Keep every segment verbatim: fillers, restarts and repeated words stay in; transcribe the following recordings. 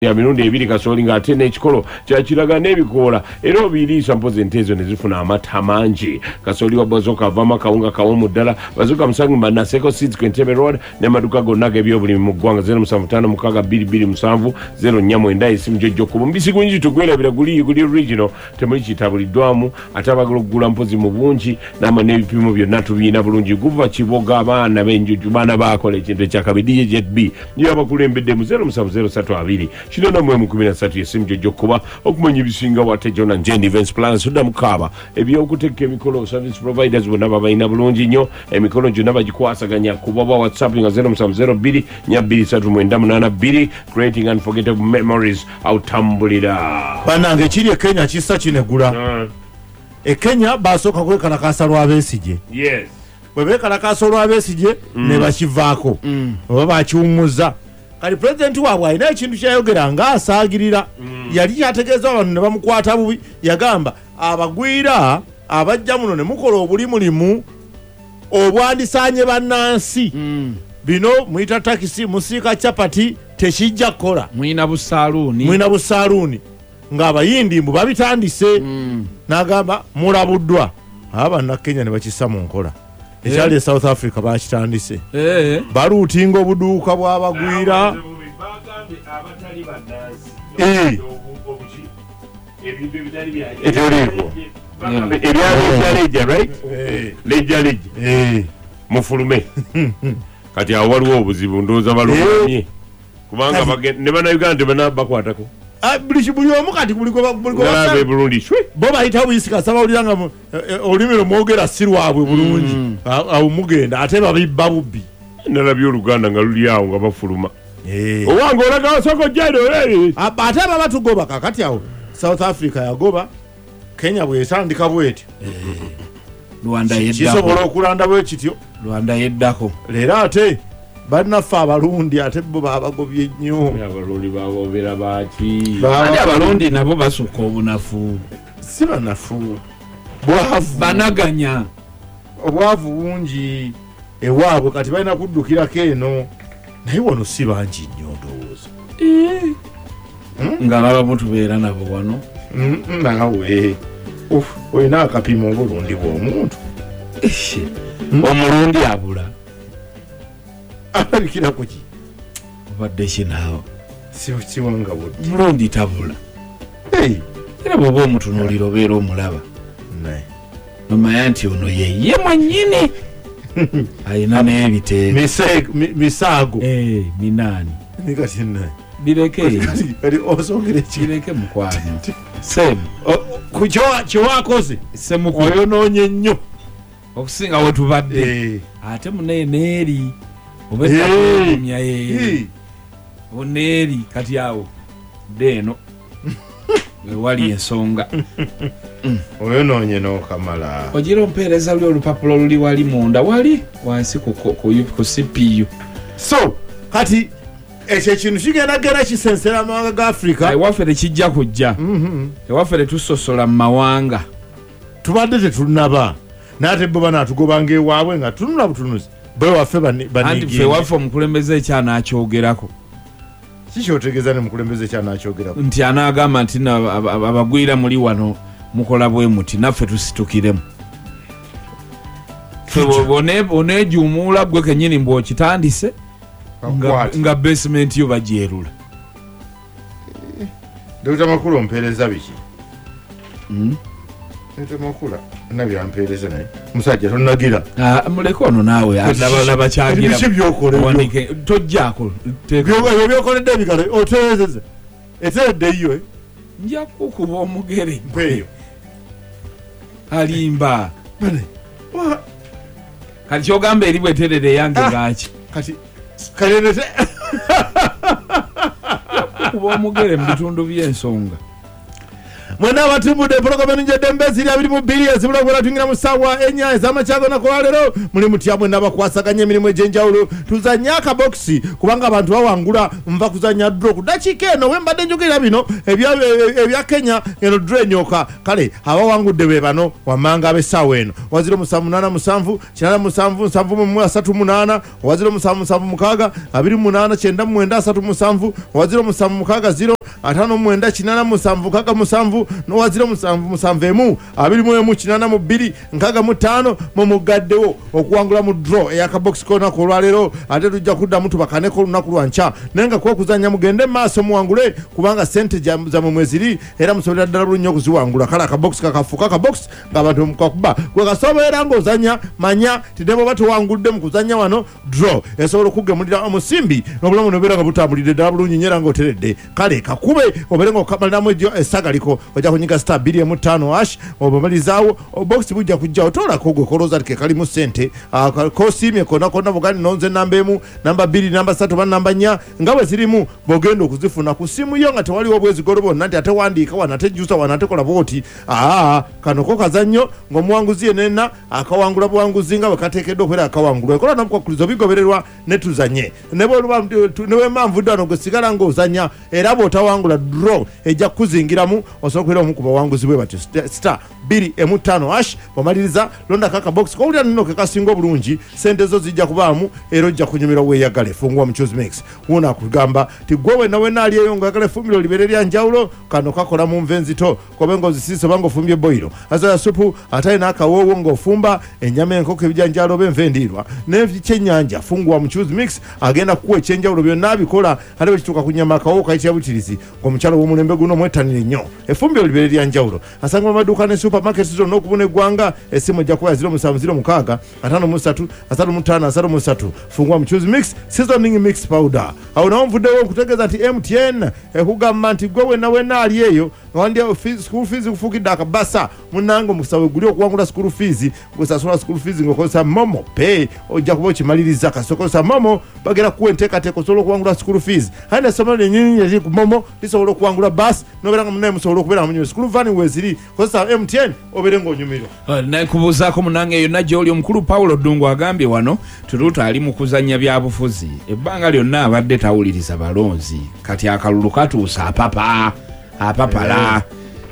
Ya mirundi ebiri kasooli ng'ate n'ekikolo kyakiraga n'ebikoola era obiriisa mpozi ente ezo ne zifuna amata mangi. Kasooli wa Bazooka avaamu akawunga kawomu ddala. Bazooka musanvu Naseko Seeds ku Entebbe Road n'amaduuka gonna ag'ebyobulimi mu ggwanga zero musanvu ttaano mukaaga bbiri bbiri musanvu zero nnya mwenda esimu gy'ojja okuba. Omubisi gw'enjuki tugwerabira guli guli original temuli kitabuliddwamu ate abagala okugula mpozi mu bungi n'ama n'ebipimo byonna tubiina bulungi. Guva Kiboga abaana b'enjuju baana baakola ekintu ekyakabi D J Jet B niyo abakulembedde mu zero musanvu zero ssatu abiri kinana mu emu kumi na ssatu esimu gy'ojja okuba okumanya ebisinga wate John and Jane Events Plans sudda mukaaba ebyokuteeka emikolo service providers bonna babalina bulungi nnyo emikolo gyonna bagikwasaganya kuba ba WhatsApp nga zero musanvu zero bbiri nnya bbiri ssatu mwenda munaana bbiri creating unforgettable memories awutambulira. Bannange ekiri e Kenya kissa kinegula. Mm. E Kenya basooka kwekalakaasa lwa Besigye. Yes. Bwe beekalakaasa olwa Besigye Mm. ne bakivaako Mm. oba bakiwummuza. Kati pulezidenti waabwe alina ekintu kyayogera ng'asaagirira. Mm. Yali kyategeeza abantu ne bamukwata bubi. Yagamba abagwira abajja muno ne mukola obulimulimu obwandisaanye bannansi. Mm. Bino muyita takisi, musiika chapati, tekijja kukola. Mwina busaaluuni. Mwina busaaluuni. Ng'abayindi mbu babitandise. Mm. N'agamba mulabuddwa. Abannakenya ne bakissa mu nkola. Ekyali e South Africa bakitandise. Eh. Baluutinga obuduuka bw'abagwira. Bagambye abatali bannansi. Eh. Ebintu ebitali bya Ebiriiko. Ebya lejja lejja, right? Eh. Lejja lejja. Eh. Mufulume. Kati awo waliwo obuzibu ndowooza balumye. Kubanga Kati- bagen-, ne bannayuganda tebana bakwatako. Ah, buli ki-, buli omu kati buli gwe ba-, buli gwe Nalaba basaba- e Burundi, shwe. Bo bayita buyisi kasaba bawulira nga mu-, eh, eh, olulimi lwe mwogera si lwabwe bulungi. Mm. A-, awo mugenda ate babibba bubbi. Nalabye Oluganda nga luli awo nga bafuluma. Eh. Owange olaga soko jero, eh. A-, ate baba tugoba kakati awo South Africa yagoba, Kenya bw'etandika bw'etyo. Eh. Rwanda Ki-, yeddako. kisobola okulanda bwe kityo. Rwanda yeddako. Leero ate bannaffe Abalundi ate bo babagobye nnyo. Abalundi babobera baaki? Baba- Ate Abalundi nabo basukka obunafu. Si banafu. Bwavu. Banaganya. Obwavu bungi ewaabwe kati balina kuddukirako eno. Naye wano si bangi nnyo ndowooza. Eh. Hmm? Nga abamu tubeera nabo wano. Mm, mm, naawe. Uff, olina akapimo obulundi bw'omuntu. Ehe. Hmm? Omulundi abula. Alabikira ku ki? Obadde ki naawe? Si, si wanga budde. Mulundi tabula. Hey. Era bw'oba omutunuulira obeera omulaba. Naye. Nomanya nti ono ye ye mwennyini. Alina n'ebiteeko. Mise-, mi-, misaago. Eh, minaani. Ni kati nnaye. Bireke. Kati, kati osongere ki? Bireke mukwano. Semu. O, ku kyo-, kye wakoze? Semuku. Oyonoonye nnyo. Okusinga we tubadde. Eh. Ate munaye n'eri. Oba Eh. ettakulumya ye. Eh. Oneeri kati awo. Dde eno. Wewali ensonga. Oyonoonye n'okamala. Ogira ompeereza luli olupapula oluli wali munda wali wansi ku, ku, ku, ku C P U. So, kati ekyo ekintu kigenda genda kisensera amawanga ga Africa. Ewaffe tekijja kujja. Mm-hmm. Ewaffe tetusosola mu mawanga. Tubadde tetunnaba. N'ate bo banaatugobanga ewaabwe nga tunula butunuzi. Bo ewaffe bani-, Anti baniigiye. ffe ewaffe omukulembeze ekyanakyogerako. Si kyotegeeza ne mukulembeze ekyanakyogerako. Nti anaagamba nti nno aba-, aba-, abagwira muli wano mukola bwe muti naffe tusitukiremu. Ffe Kijja. bw'one-, bw'oneejuumuula ggwe kennyini mbw'okitandise, nga, Kakwate. nga basement yo bagyerula. Eh, Dokita Makula ompeereza biki? Mm. Dokita Makula nabyo ampeereza naye. Musajja tonnagira. Ah, muleke ono naawe, Kati alaba, kiki? alaba kyagira. Kati biki by'okola ebyo? Wanike, tojjaako, teeka. By'okola, ebyo by'okoledde ebigalo, otereezezza. Eteredde yo, eh? Nja kukuba omugere. Mpeeyo. Alimba. Bane, wa- Kati ky'ogamba eri bweterere yange Ah, lwaki? Kati, kale nete- Kuba omugere mu bitundu by'ensonga. Mwena abatumbudde pulogulaamu ennungi eziri abiri mu bbiri ezibula okubeera tuyingira mu ssaawa ennya ez'amakya g'olunaku lwaleero. Muli mutya mwenna abakwasaganya emirimu egy'enjawulo? Tuzanye akabokisi kubanga abantu bawangula. Nva kuzannya draw ku ddakiika eno we mbadde njogerera bino ebya ebya Kenya, eno draw enyoka. Kale abawangudde be bano wammanga ab'essaawa eno: waziro musanvu munaana musanvu kinaana musanvu nsanvu mu mu asatu munaana, waziro musanvu musanvu mukaaga abiri mu munaana kyenda mu mwenda asatu musanvu, waziro musanvu mukaaga ziro ataano mu mwenda kinaana musanvu nkaaga musanvu, n'owaziro musanvu musanvu emu abiri mu emu kinaana mu bbiri nkaaga mu ttaano. Mumugaddewo okuwangula mu draw ey'akabokisi k'olunaku olwaleero. Ate tujja kuddamu tubakaneko olunaku lwa nkya, naye nga kwokuzannya mugende mu maaso muwangule, kubanga sente gya- zammwe mweziri era musobolera ddala bulungi nnyo okuziwangula. Kale akabokisi kakafuuka akabokisi ng'abantu mukakuba gwe kasobola ng'ozannya. Manya ti ne bw'oba tewangudde mu kuzannya wano, draw esobola okugemulira omusimbi n'obulamu nobeera nga butambulidde ddala bulungi nnyo era ng'oteredde. Kale kakube obeere ng'okamaliramu egyo essagaliko. Ojja kunyiga star bbiri emu ttaano hash, obamalizaawo obokisi bujja kujjawo. Toolako gwe kolooza ti ke kalimu ssente. Ah, ka- kosiimye konna konna bugandi nonze namba emu, namba bbiri, namba ssatu oba namba nnya nga bwe zirimu, bw'ogenda okuzifuna ku simu yo nga tewaliwo obwezigolo bwonna nti ate wandiika wano, ate jjusa wano, ate kola bwoti. Aa, kano ko kazannyo ng'omuwanguzi yenena akawangula buwanguzi nga bwe kateekeddwa okubeera akawangulwa. Ekola n'obukwakkulizo bigobererwa ne tuzanye ne bw'oluba- ne bwemba nvudde wano, gwe sigala ng'ozanya, era bw'otawangula draw ejja kukuzingiramu, osobola okubeera omu ku bawanguzi bwe batyo. Sta- star bbiri emu ttaano hash, bw'omaliriza londako akabokisi kowulira nno ke kasinga obulungi, sente zo zijja kubaamu era ojja kunyumirwa weeyagale. Fungwa muchuzi mix wuno akugamba ti gwe wenna wenna ali eyo ng'oyagala effumbiro libeere lya njawulo, kano kakola mu nva enzito, kobe ng'ozisiise oba ng'ofumbye boyiro azoya supu ate n'akawoowo ng'ofumba ennyama, enkoko, ebijanjaalo oba enva endiirwa n'ekyennyanja. Fungwa muchuzi mix agenda kukuwa ekyenjawulo, byonna abikola. Ate bwe kituuka ku nyama, akawoowo kayitira butirizi. Ng'omukyalo w'omulembe guno mwettanire nnyo effumbiro libeere lya njawulo. Asangibwa mu maduuka ne supermarket zonna okubuna eggwanga. Essimu ejja kuba ya ziro musanvu ziro mukaaga ataano mu ssatu asatu mu ttaano asatu mu ssatu. Fungwa muchuzi mix seasoning mix powder. Awo nawo nvuddewo nkutegeeza nti M T N ekugamba nti gwe wenna wenna ali eyo nga wandya fees- school fees kufuukidde akabasa, munnange omukisa we guli okuwangula school fees. Gwesasula school fees ng'okozesa MoMo Pay, ojja kuba okimaliriza. Kasita okozesa MoMo, bagenda kukuwa enteekateeka osobola okuwangula school fees. Aye nessomero lyennyini eriri ku MoMo lisobola okuwangula bus, nobeera nga munnaye musobola okubeera nga munyumirwa. School van weeziri, kozesa M T N obeere ng'onyumirwa. Nekubuuzaako munange yonna gy'oli. Omukulu Pawulo Ddungu agambye wano Tuluuta ali mu kuzannya byabufuzi, ebbanga lyonna abadde tawuliriza balonzi, kati akalulu katuusa apapa apapala.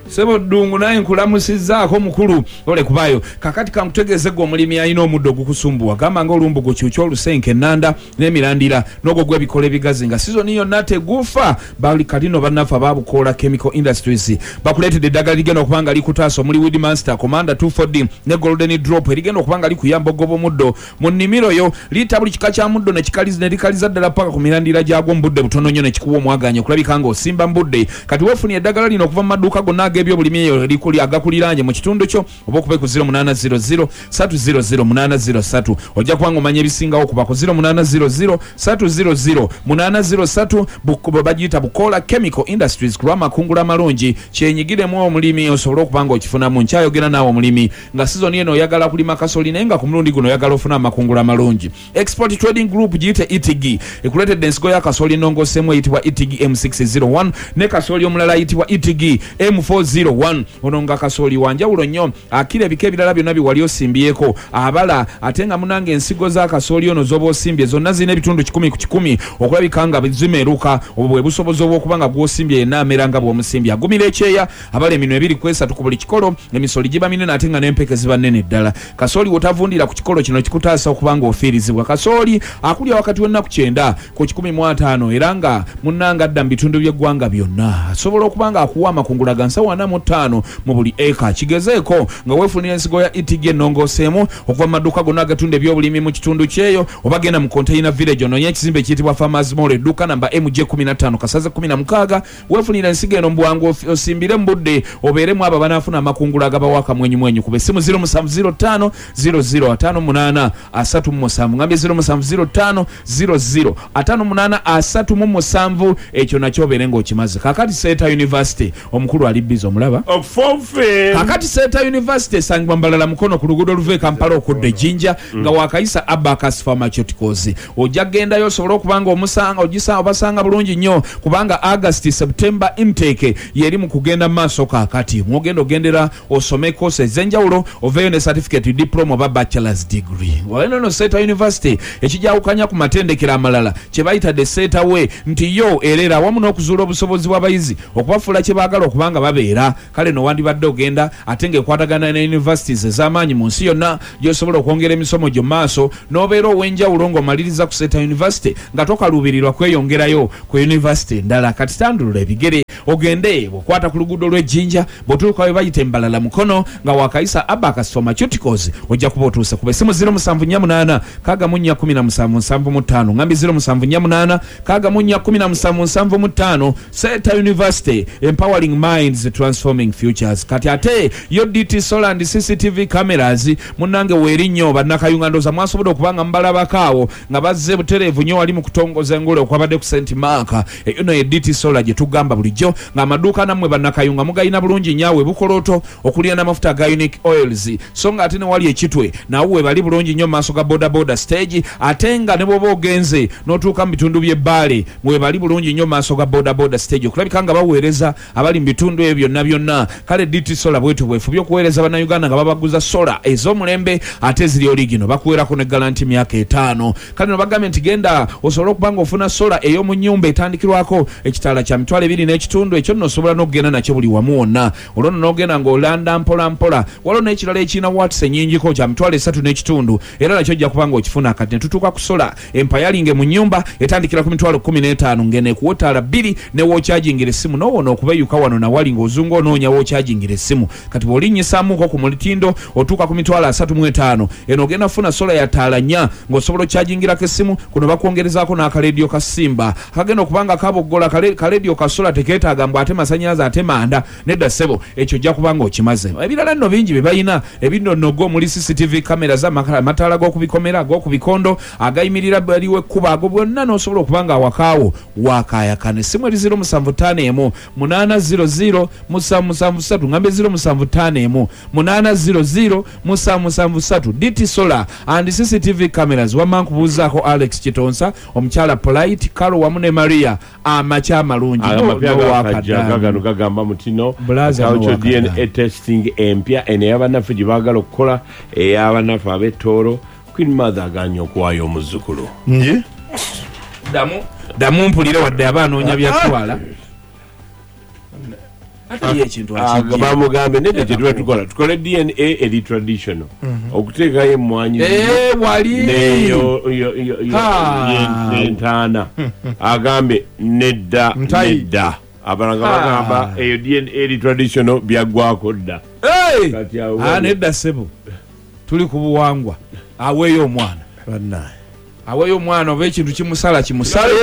Sebo Ddungu, naye nkulamusizzaako mukulu ole kubaayo. Kakati kankutegeeze gwe omulimi alina omuddo ogukusumbuwa, gamba nga olumbugu, kyukya, olusenke, ennanda n'emirandira n'ogwo gw'ebikola ebigazi nga sizoni yonna tegufa. Bali kalino bannaffe ababukoola Chemical Industries bakuleetedde eddagala ligenda okuba nga likutaasa, omuli Weed Master, Commander two four D ne Golden Drop, erigenda okuba nga likuyamba okugoba omuddo mu nnimiro yo. Liita buli kika kya muddo ne kikaliza- ne likaliza ddala paka ku mirandira gyagwo mu budde butono nnyo, ne kikuwa omwaganya okulabika ng'osimba mu budde. Kati weefunye eddagala lino okuva mu maduuka gonna ag'ebyobulimi eyo erikuli agakuliraanye mu kitundu kyo, oba okube ku zero munaana zero zero three zero zero eight zero three. Ojja kuba ng'omanya ebisingawo kuba ku zero munaana zero zero three zero zero eight zero three. Buko- bagiyita Bukola Chemical Industries ku lw'amakungula amalungi. Kyenyigiremu omulimi osobole okuba nga okifunamu. Nkyayogera naawe omulimi nga sizoni eno oyagala kulima kasoli, naye nga ku mulundi guno oyagala ofuna amakungula amalungi. Export Trading Group, giyite E T G, ekuleetedde ensigo ya kasooli ennongoosemu eyitibwa E T G M six zero one ne kasooli omulala ayitibwa E T G M four zero one. Ono nga kasooli wanjawulo nnyo, akira ebika ebirala byonna bye wali osimbyeko abala. Ate nga munange ensigo za kasooli ono z'oba osimbye zonna zirina ebitundu kikumi ku kikumi okulabika nga zimeruka. Obwo bwe busobozi obw'okuba nga gw'osimbye yenna amera nga bw'omusimbye, agumira ekyeya, abala eminwe ebiri ku esatu ku buli kikolo, emisoli giba minene ate nga n'empeke ziba nnene ddala. Kasooli wotavundira ku kikolo kino kikutaasa okuba nga ofiirizibwa. Kasooli akulya wakati w'ennaku kyenda ku kikumi mu ataano, era nga munnanga adda mu bitundu by'eggwanga byonna, asobola okuba nga akuwa amakungula ga nsawo ana mu ttaano mu buli eka. Kigezeeko nga weefunira ensigo ya E T G ennongooseemu okuva mu maduuka gonna agatunda ebyobulimi mu kitundu kyeyo, oba genda mu Container Village ononye ekizimbe ekiyitibwa Farmers Mall, edduuka namba M J fifteen kasaze sixteen. Weefunira ensigo eno mu bwangu, ofi- osimbire mu budde, obeeremu abo abanaafuna amakungula agabawa akamwenyumwenyu. Kuba essimu zero seven zero five zero zero five eight three seven, ngambye zero seven zero five zero zero five eight three seven. Ekyo nakyo obeere ng'okimaze. Kakati Seeta University, omukulu ali busy. Size omulaba kakati Seeta University esangibwa Mbalala Mukono ku luguudo oluva e Kampala okudda e Jinja nga wakayisa Abacus Pharmaceuticals. Ojja kugendayo osobole okuba nga omusanga ogisanga obasanga bulungi nnyo kubanga August September intake yeri mu kugenda mu maaso kaakati. Mwogenda ogendera osome course ez'enjawulo oveeyo ne certificate, diploma oba bachelor's degree. Wano no Seeta University ekijawukanya ku matendekero amalala kye bayita the Seeta way nti yo erera awamu n'okuzuula obusobozi bw'abayizi okubafuula kye baagala okuba nga babeera. Kale no wandibadde ogenda ate ng'ekwatagana ne universities ez'amaanyi mu nsi yonna gy'osobola okwongera emisomo gyo mu maaso n'obeera ow'enjawulo ng'omaliriza ku Seeta University nga tokaluubirirwa kweyongerayo ku university endala. Kati tandulula ebigere ogende bw'okwata ku luguudo lw'Ejjinja bw'otuuka we bayita Embalala Mukono nga wakayisa Abacus Pharmaceuticals ojja kuba otuuse. Kuba essimu ziro musanvu nnya munaana kaaga mu nnya kumi na musanvu nsanvu mu ttaano ngambi ziro musanvu nnya munaana kaaga mu nnya kumi na musanvu nsanvu mu ttaano. Seeta University, empowering minds, transforming futures. Kati ate yo D T Solar and C C T V cameras munnange weeri nnyo bannakayunga ndowooza mwasobodde okuba nga mubalabako awo nga bazze butereevu nnyo wali mu kutongoza engule okwabadde ku Saint Mark. Eyo no ye D T Solar gye tugamba bulijjo ng'amaduuka nammwe bannakayunga mugayina bulungi nnyo awo Bukolooto okulya n'amafuta aga Unique Oils, so nga ate ne wali Ekitwe nawo we bali bulungi nnyo mu maaso ga boda boda stage, ate nga ne bw'oba ogenze n'otuuka mu bitundu by'Ebbaale we bali bulungi nnyo mu maaso ga boda boda stage okulabika nga baweereza abali mu bitundu ebyo byonna byonna. Kale D T Solar bwetu bwefubye okuweereza bannayuganda nga babaguza solar ez'omulembe ate eziri oligino bakuweerako ne guarantee myaka etaano. Kale no bagambye nti genda osobole okuba ng'ofuna solar ey'omu nnyumba etandikirwako ekitaala kya mitwalo ebiri n'ekitundu ekyo nno osobola n'okugenda nakyo buli wamu wonna. Olwo nno n'ogenda ng'olanda mpola mpola. Waliwo n'ekirala ekirina watts ennyingiko kya mitwalo esatu n'ekitundu era nakyo ojja kuba ng'okifuna. Kati ne tutuuka ku solar empayalinge mu nnyumba etandikira ku mitwalo kkumi n'etaano ng'eno ekuwa ettaala bbiri ne wookyajingira essimu n'owona okubeeyuka wano nawali ng'ozunga onoonya wookyajingira essimu. Kati bw'olinnyisaamuko ku mulitindo otuuka ku mitwalo asatu mu etaano eno ogenda kufuna solar ya ttaala nnya ng'osobola okyajingirako essimu. Kuno bakwongerezaako n'akalediyo ka Simba akagenda okuba nga kaboggola. Kalediyo ka solar tekeetaaga mbu ate masannyalaze ate manda, nedda ssebo, ekyo ojja kuba ng'okimaze. Ebirala nno bingi bye balina ebinnonogo omuli C C T V cameras, amataala g'okubikomera ag'okubikondo agayimirira baliwo ekkubo ago bwonna n'osobola okuba nga awakaawo wakaayakana. Essimu eri ziro musanvu ttaano emu munaana ziro ziro musanvu musanvu ssatu ngambe ziro musanvu ttaano emu munaana ziro ziro musanvu musanvu ssatu. D T Solar and C C T V cameras. Wamma nkubuuzaako Alex Kitonsa, omukyala Polite Karo wamu ne Maria amakya amalungi. Gano gagamba mutino cultural D N A testing empya eno ey'abannaffe gye baagala okukola ey'abannaffe ab'ettooro. Queen Mother aganye okuwaayo omuzzukulu. Nje ddamu ddamu mpulire wadde aba anoonya byatwala ate ye ekintu akijje bamugambe nedda kye tuba tukola tukole D N A eri traditional okuteekayo emmwanyi wali neyo entaana agambe nedda nedda abalanga bagamba eyo D N A eri traditional byaggwako dda. Nedda ssebo, tuli ku buwangwa. Aweeyo omwana aweeyo omwana oba ekintu kimusala kimusale.